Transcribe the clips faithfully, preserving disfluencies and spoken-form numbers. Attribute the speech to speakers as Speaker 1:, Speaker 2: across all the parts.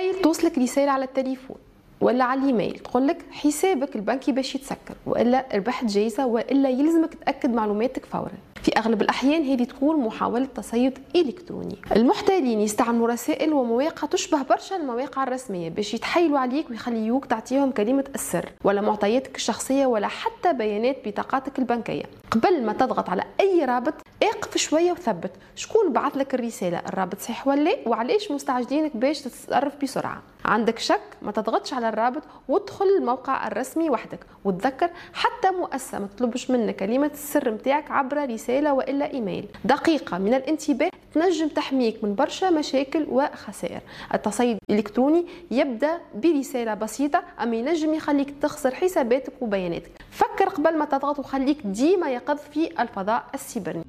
Speaker 1: تخيل توصلك رسالة على التليفون ولا على الايميل تقول لك حسابك البنكي باش يتسكر، والا ربحت جائزة، والا يلزمك تاكد معلوماتك فورا. في اغلب الاحيان هذه تكون محاولة تصيد الكتروني. المحتالين يستعملوا رسائل ومواقع تشبه برشا المواقع الرسمية باش يتحايلوا عليك ويخليوك تعطيهم كلمة السر ولا معطياتك الشخصية ولا حتى بيانات بطاقاتك البنكية. قبل ما تضغط على اي رابط اقف شوية وثبت شكون بعث لك الرسالة، الرابط صحيح ولا لا، وعلاش مستعجلينك باش تتصرف بسرعة. عندك شك ما تضغطش على الرابط وادخل الموقع الرسمي وحدك، وتذكر حتى مؤسسة ما تطلبش منك كلمة السر متاعك عبر رسالة والا ايميل. دقيقة من الانتباه تنجم تحميك من برشا مشاكل وخسائر. التصيد الالكتروني يبدا برسالة بسيطة اما ينجم يخليك تخسر حساباتك وبياناتك. فكر قبل ما تضغط وخليك ديما يقظ في الفضاء السيبرني.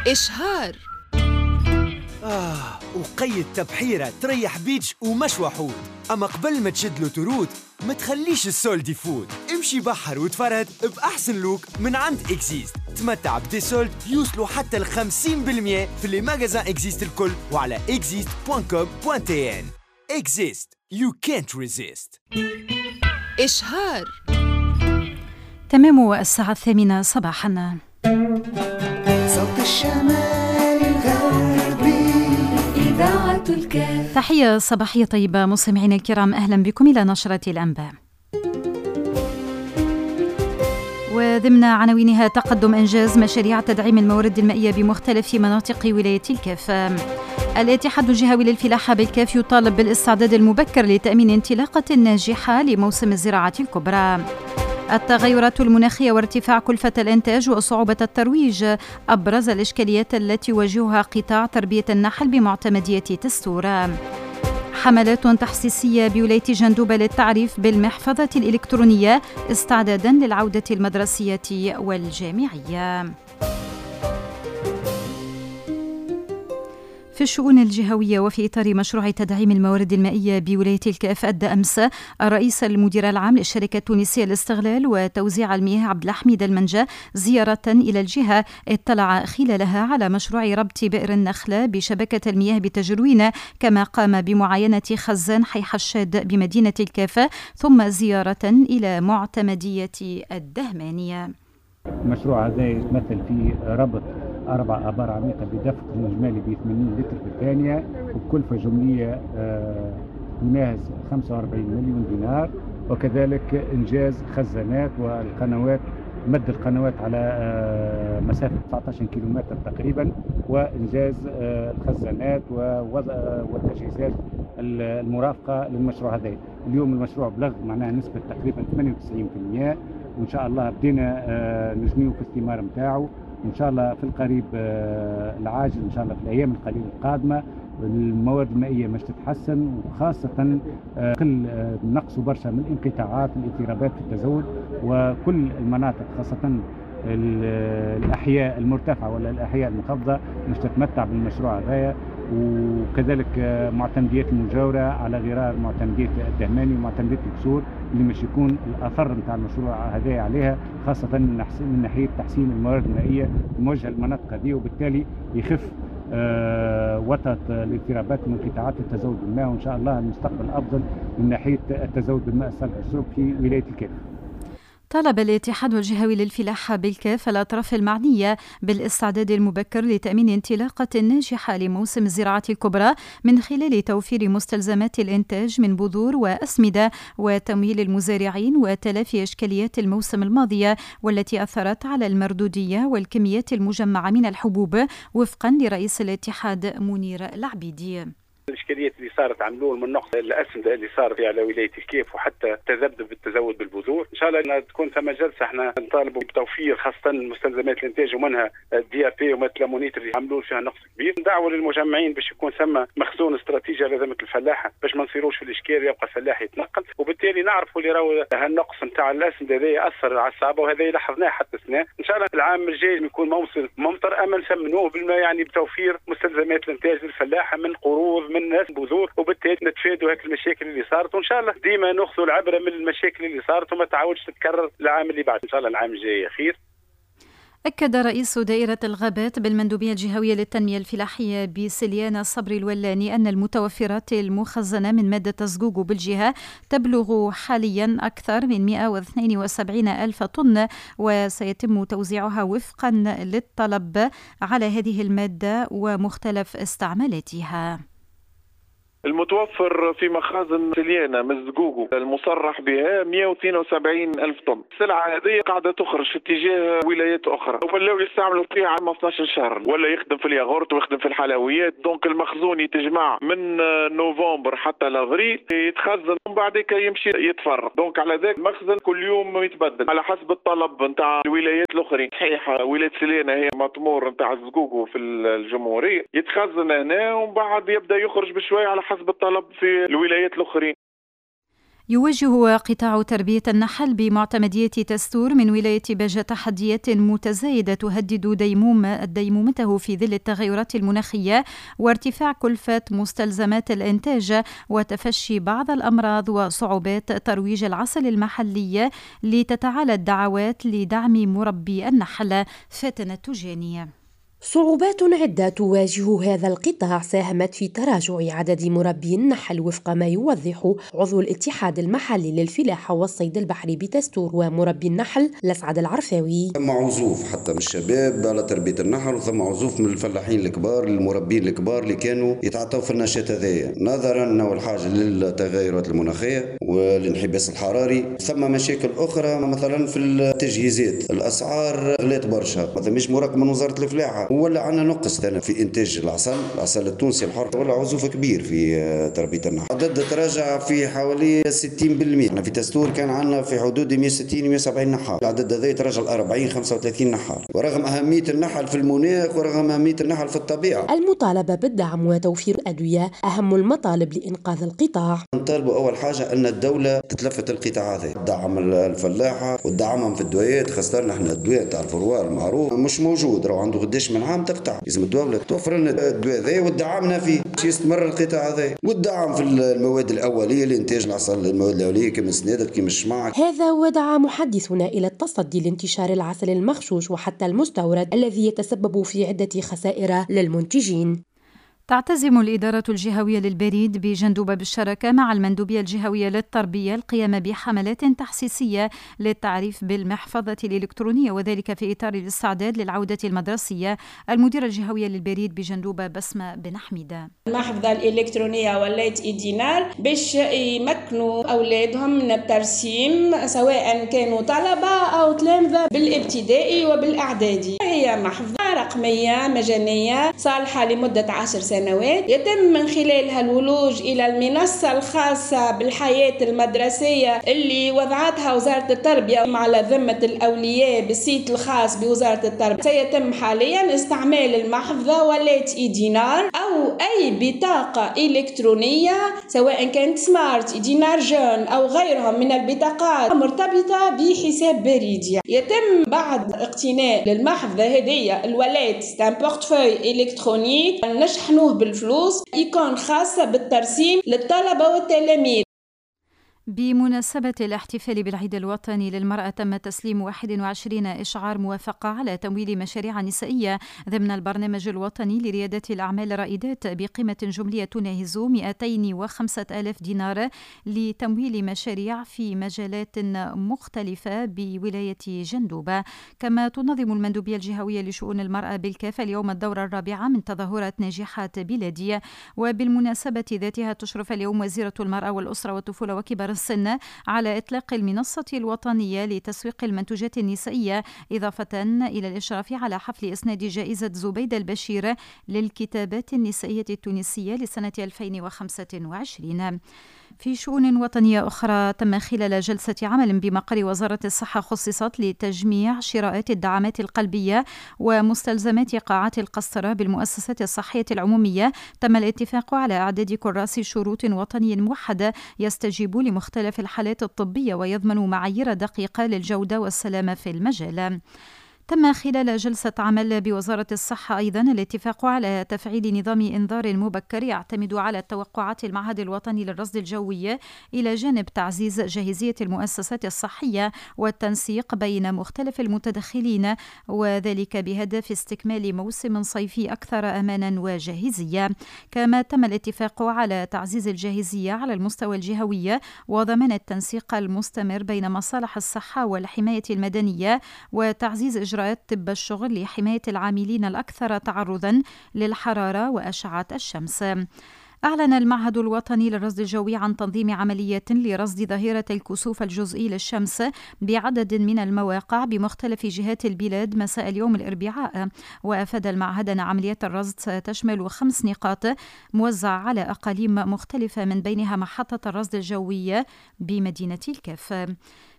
Speaker 2: إشهار.
Speaker 3: آه وقيد تبحيرة تريح beach ومشوى حوت، أما قبل ما تشد l'autoroute ما تخليش ال solde يفوت. امشي بحر وتفرهد بأحسن look من عند Exist. تمتع ب des soldes يوصلوا حتى ل خمسين بالمية في les magasins Exist الكل وعلى exist point com point tn. Exist, you can't resist.
Speaker 2: إشهار.
Speaker 4: تمام الساعة الثامنة صباحا.
Speaker 5: صوت الشمال الغربي إذاعة الكاف.
Speaker 4: تحية صباحية طيبة مستمعينا الكرام، أهلا بكم إلى نشرة الأنباء. وضمن عناوينها تقدم إنجاز مشاريع تدعيم الموارد المائية بمختلف مناطق ولاية الكاف. الاتحاد الجهوي للفلاحة بالكاف يطالب بالاستعداد المبكر لتأمين انطلاقة ناجحة لموسم الزراعة الكبرى. التغيرات المناخية وارتفاع كلفة الإنتاج وصعوبة الترويج أبرز الإشكاليات التي يواجهها قطاع تربية النحل بمعتمدية تستورة. حملات تحسيسية بولاية جندوبة للتعريف بالمحفظة الإلكترونية استعدادا للعودة المدرسية والجامعية. في الشؤون الجهوية وفي إطار مشروع تدعيم الموارد المائية بولاية الكاف، أدى أمس الرئيس المدير العام للشركة التونسية للاستغلال وتوزيع المياه عبد الحميد المنجا زيارة إلى الجهة اطلع خلالها على مشروع ربط بئر النخلة بشبكة المياه بتجروين، كما قام بمعاينة خزان حي حشاد بمدينة الكاف، ثم زيارة إلى معتمدية الدهمانية.
Speaker 6: المشروع هذا يتمثل في ربط أربع آبار عميقة بدفق إجمالي ب ثمانين لتر في الثانية وبكلفة جملية تناهز خمسة وأربعين مليون دينار، وكذلك إنجاز خزانات والقنوات، مد القنوات على مسافة تسعة عشر كيلومتر تقريبا، وإنجاز الخزانات والتجهيزات المرافقة للمشروع هذا. اليوم المشروع بلغ معناها نسبة تقريبا ثمانية وتسعين بالمئة، وإن شاء الله بدينا نجنيو في الثمار نتاعو. إن شاء الله في القريب العاجل، إن شاء الله في الأيام القليلة القادمة الموارد المائية مش تتحسن، وخاصة قل نقصوا برشا من الانقطاعات والاضطرابات في التزود، وكل المناطق خاصة الأحياء المرتفعة ولا الأحياء المنخفضة مش تتمتع بالمشروع هذايا، وكذلك معتمديات المجاورة على غرار معتمدية الدهماني ومعتمدية الكسور اللي مش يكون الأثر نتاع المشروع هذايا عليها، خاصة من ناحية تحسين الموارد المائية الموجهة للمناطق هذه، وبالتالي يخف آه وطأة الاضطرابات وانقطاعات التزود بالماء، وإن شاء الله المستقبل أفضل من ناحية التزود بالماء الصالح للشرب في ولاية الكاف.
Speaker 4: طالب الاتحاد الجهوي للفلاحة بالكاف الأطراف المعنية بالاستعداد المبكر لتأمين انطلاقة ناجحة لموسم الزراعة الكبرى من خلال توفير مستلزمات الإنتاج من بذور وأسمدة وتمويل المزارعين وتلافي إشكاليات الموسم الماضية والتي أثرت على المردودية والكميات المجمعة من الحبوب، وفقا لرئيس الاتحاد منير العبيدي.
Speaker 7: الاشكاليات اللي صارت عملول من نقص الاسمده اللي صار على ولاية الكيف وحتى تذبذب التزود بالبذور، ان شاء الله تكون ثم جلسه احنا نطالبوا بتوفير خاصة مستلزمات الانتاج ومنها ال DAP ومثل l'ammonitre اللي عملوا فيها نقص كبير. ندعوا للمجمعين باش يكون ثم مخزون استراتيجي على ذمه الفلاحة باش ما نصيروش في الاشكال يبقى الفلاح يتنقل، وبالتالي نعرفوا اللي راهو هالنقص نتاع الاسمده هذا ياثر على الصعبة وهذا لاحظناه حتى السنة. ان شاء الله العام الجاي يكون موسم ممطر اما نسمنوه بالما يعني بتوفير مستلزمات الانتاج للفلاحه من قروض من ناس بذور، وبالتالي نتفادوا هيك المشاكل اللي صارت، وان شاء الله ديما ناخذوا العبرة من المشاكل اللي صارت وما تعاودش تتكرر العام اللي بعد. ان شاء الله العام الجاي خير.
Speaker 4: أكد رئيس دائرة الغابات بالمندوبية الجهوية للتنمية الفلاحية بسليانة صبري الولاني أن المتوفرات المخزنة من مادة الزقوقو بالجهة تبلغ حاليا أكثر من مئة واثنين وسبعين ألف طن، وسيتم توزيعها وفقا للطلب على هذه المادة ومختلف استعمالاتها.
Speaker 8: المتوفر في مخازن سليانة من الزقوقو المصرح بها مئة واثنين وسبعين ألف طن. السلعة هذه قاعدة تخرج في اتجاه ولايات أخرى، ولاو يستعملوا فيها عام اثناش شهر، ولا يخدم في الياغورت ويخدم في الحلويات. donc المخزون يتجمع من نوفمبر حتى لافريل، يتخزن ومن بعد يمشي يتفرق. donc على ذاك المخزن كل يوم يتبدل على حسب الطلب نتاع الولايات الأخرين. صحيح ولاية سليانة هي مطمور نتاع الزقوقو في الجمهورية، يتخزن هنا ومن بعد يبدأ يخرج بشوية على حسب الطلب في الولايات الأخرين.
Speaker 4: يواجه قطاع تربية النحل بمعتمدية تستور من ولاية باجة تحديات متزايدة تهدد ديموم ديمومته في ظل التغيرات المناخية وارتفاع كلفة مستلزمات الإنتاج وتفشي بعض الأمراض وصعوبات ترويج العسل المحلي، لتتعالى الدعوات لدعم مربي النحل. فاتنة تجانية.
Speaker 9: صعوبات عدة تواجه هذا القطاع ساهمت في تراجع عدد مربي النحل وفق ما يوضح عضو الاتحاد المحلي للفلاحة والصيد البحري بتستور ومربي النحل لسعد العرفاوي.
Speaker 10: ثم عزوف حتى من الشباب على تربية النحل، وثم عزوف من الفلاحين الكبار المربين الكبار اللي كانوا يتعاطوا في النشاط هذايا، نظرا أول حاجة للتغيرات المناخية والانحباس الحراري. ثم مشاكل أخرى مثلا في التجهيزات، الأسعار غلات برشا، هذا مش مراقب من وزارة الفلاحة، ولا عندنا نقص ثاني في انتاج العسل، العسل التونسي الحر، ولا عزوف كبير في تربيه النحل. عدد تراجع في حوالي ستين بالمئة، احنا في تستور كان عندنا في حدود مئة وستين مئة وسبعين نحال، العدد هذا يتراجع ل أربعين خمسة وثلاثين نحال، ورغم اهمية النحل في المناخ ورغم اهمية النحل في الطبيعة.
Speaker 9: المطالبة بالدعم وتوفير الادوية اهم المطالب لانقاذ القطاع.
Speaker 10: نطالبوا اول حاجة ان الدولة تتلفت القطاع هذا، تدعم الفلاحة وتدعمهم في الدويات، خاصة نحن الدواء تاع الفروار المعروف مش موجود، راهو عنده قداش من عام تقطع، لازم الدولة توفر لنا الدواء هذا وتدعمنا فيه باش يستمر القطاع هذا، وتدعم في المواد الاولية لانتاج العسل، المواد الاولية كما السنادر كما الشمع.
Speaker 9: هذا ودعا محدثنا الى التصدي لانتشار العسل المغشوش وحتى المستورد الذي يتسبب في عده خسائر للمنتجين.
Speaker 4: تعتزم الإدارة الجهوية للبريد بجندوبة بالشراكة مع المندوبية الجهوية للتربية القيام بحملات تحسيسية للتعريف بالمحفظة الإلكترونية، وذلك في إطار الاستعداد للعودة المدرسية. المديرة الجهوية للبريد بجندوبة بسمة بن حميدة:
Speaker 11: المحفظة الإلكترونية ولات e-dinar باش يمكنوا أولادهم من الترسيم سواء كانوا طلبة أو تلامذة بالابتدائي وبالإعدادي. هي محفظة رقمية مجانية صالحة لمدة عشر سنوات سنوات، يتم من خلالها الولوج إلى المنصة الخاصة بالحياة المدرسية اللي وضعتها وزارة التربية على ذمة الأولياء بال site الخاص بوزارة التربية. سيتم حاليا استعمال المحفظة ولات e-dinar أو أي بطاقة إلكترونية سواء كانت smart، e-dinar jeune أو غيرهم من البطاقات مرتبطة بحساب بريدي. يتم بعد اقتناء للمحفظة هذه ال wallet، c'est un portefeuille électronique، نشحنوه بالفلوس، icône خاصة بالترسيم للطلبة والتلاميذ.
Speaker 4: بمناسبة الاحتفال بالعيد الوطني للمرأة تم تسليم واحد وعشرين إشعار موافقة على تمويل مشاريع نسائية ضمن البرنامج الوطني لريادة الأعمال الرائدات بقيمة جملية تناهز مئتين وخمسة آلاف دينار لتمويل مشاريع في مجالات مختلفة بولاية جندوبة. كما تنظم المندوبية الجهوية لشؤون المرأة بالكاف اليوم الدورة الرابعة من تظاهرات ناجحات بلادية، وبالمناسبة ذاتها تشرف اليوم وزيرة المرأة والأسرة والطفولة وكبار السن على إطلاق المنصة الوطنية لتسويق المنتوجات النسائية، إضافة إلى الإشراف على حفل إسناد جائزة زبيدة البشير للكتابات النسائية التونسية لسنة ألفين وخمسة وعشرين. في شؤون وطنية أخرى، تم خلال جلسة عمل بمقر وزارة الصحة خصصت لتجميع شراءات الدعامات القلبية ومستلزمات قاعات القسطرة بالمؤسسات الصحية العمومية، تم الاتفاق على إعداد كراس شروط وطني موحد يستجيب لمختلف الحالات الطبية ويضمن معايير دقيقة للجودة والسلامة في المجال. تم خلال جلسة عمل بوزارة الصحة أيضا الاتفاق على تفعيل نظام إنذار مبكر يعتمد على توقعات المعهد الوطني للرصد الجوي، إلى جانب تعزيز جاهزية المؤسسات الصحية والتنسيق بين مختلف المتدخلين، وذلك بهدف استكمال موسم صيفي أكثر أمانا وجاهزية. كما تم الاتفاق على تعزيز الجاهزية على المستوى الجهوي وضمان التنسيق المستمر بين مصالح الصحة والحماية المدنية وتعزيز إجراءات طب الشغل لحماية العاملين الأكثر تعرضا للحرارة وأشعة الشمس. أعلن المعهد الوطني للرصد الجوي عن تنظيم عملية لرصد ظاهرة الكسوف الجزئي للشمس بعدد من المواقع بمختلف جهات البلاد مساء اليوم الأربعاء. وأفاد المعهد أن عملية الرصد ستشمل خمس نقاط موزعة على أقاليم مختلفة، من بينها محطة الرصد الجوي بمدينة الكاف.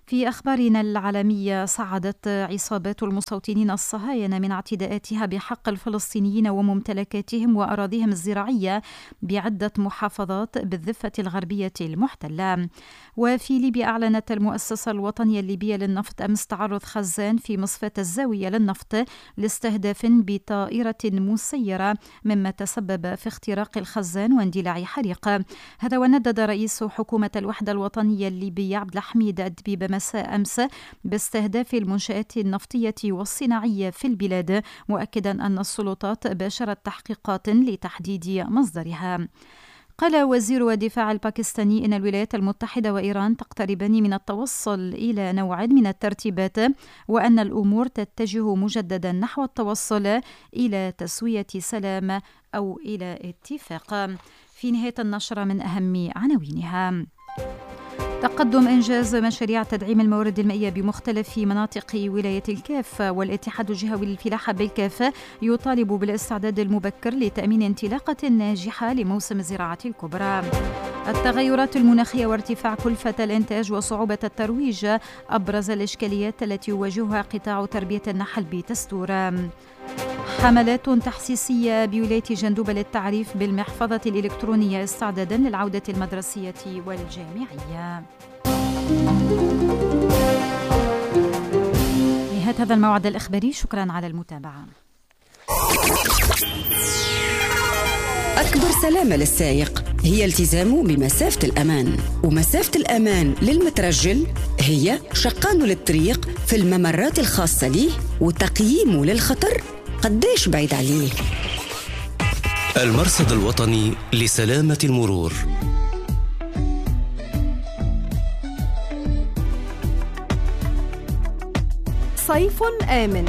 Speaker 4: في أخبارنا العالمية، صعدت عصابات المستوطنين الصهاينة من اعتداءاتها بحق الفلسطينيين وممتلكاتهم وأراضيهم الزراعية بعدة محافظات بالضفة الغربية المحتلة. وفي ليبيا، أعلنت المؤسسة الوطنية الليبية للنفط أمس تعرض خزان في مصفاة الزاوية للنفط لاستهداف بطائرة مسيرة، مما تسبب في اختراق الخزان واندلاع حريق. هذا وندد رئيس حكومة الوحدة الوطنية الليبية عبد الحميد الدبيب مساء أمس باستهداف المنشآت النفطية والصناعية في البلاد، مؤكدا أن السلطات باشرت تحقيقات لتحديد مصدرها. قال وزير الدفاع الباكستاني إن الولايات المتحدة وإيران تقتربان من التوصل إلى نوع من الترتيبات، وأن الأمور تتجه مجددا نحو التوصل إلى تسوية سلام أو إلى اتفاق. في نهاية النشرة من أهم عناوينها: تقدم إنجاز مشاريع تدعيم الموارد المائية بمختلف مناطق ولاية الكاف، والاتحاد الجهوي للفلاحة بالكاف يطالب بالاستعداد المبكر لتأمين انطلاقة ناجحة لموسم الزراعة الكبرى. التغيرات المناخية وارتفاع كلفة الإنتاج وصعوبة الترويج أبرز الإشكاليات التي يواجهها قطاع تربية النحل بتستور. حملات تحسيسية بولاية جندوبة للتعريف بالمحفظة الإلكترونية استعدادا للعودة المدرسية والجامعية. نهاية هذا الموعد الإخباري، شكرا على المتابعة.
Speaker 12: أكبر سلامة للسائق هي التزامه بمسافة الأمان، ومسافة الأمان للمترجل هي شقانه للطريق في الممرات الخاصة ليه وتقييمه للخطر قديش بعيد عليه.
Speaker 13: المرصد الوطني لسلامة المرور.
Speaker 2: صيف آمن.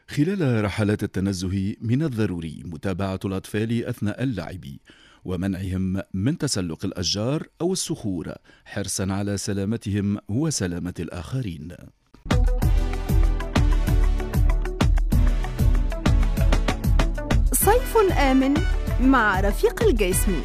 Speaker 14: خلال رحلات التنزه من الضروري متابعة الأطفال أثناء اللعب ومنعهم من تسلق الأشجار أو الصخور حرصا على سلامتهم وسلامة الآخرين.
Speaker 2: صيف آمن مع رفيق الجسمي.